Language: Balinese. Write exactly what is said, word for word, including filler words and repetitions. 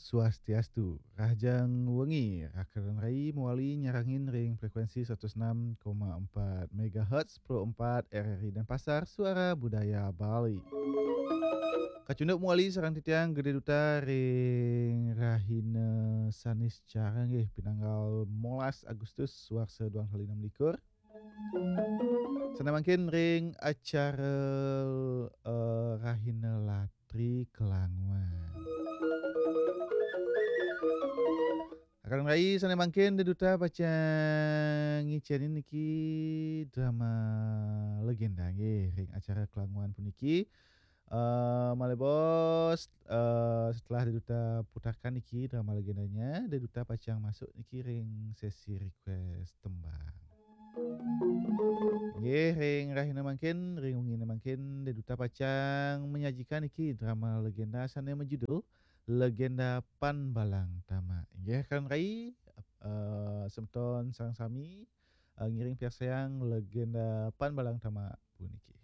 Swastiastu. Rahajeng wengi, rakan rai mawali nyarengin ring frekuensi seratus enam koma empat megahertz, Pro empat R R I Denpasar, Suara Budaya Bali. Kacunduk mawali sareng titiang Gede Duta ring rahina Saniscara nggih, pinanggal molas Agustus warsa dua tali enam likur. Sane mangkin ring acara, eh, Rahina Latri Kelanguan. Akan rai sane mangkin Deduta pacang ngicenin niki drama legenda nggih ring acara Kelanguan puniki. Eh, malih bos, eh, setelah Deduta putarkan niki drama legendanya, Deduta pacang masuk niki ring sesi request tembang. Nggih, ring rahina mangkin, ring wengine mangkin, Deduta pacang menyajikan niki drama legenda sane majudul Legenda Pan Balang Tamak. Nggih, akan rai, eh, semeton sareng sami, eh, ngiring piarsayang Legenda Pan Balang Tamak puniki.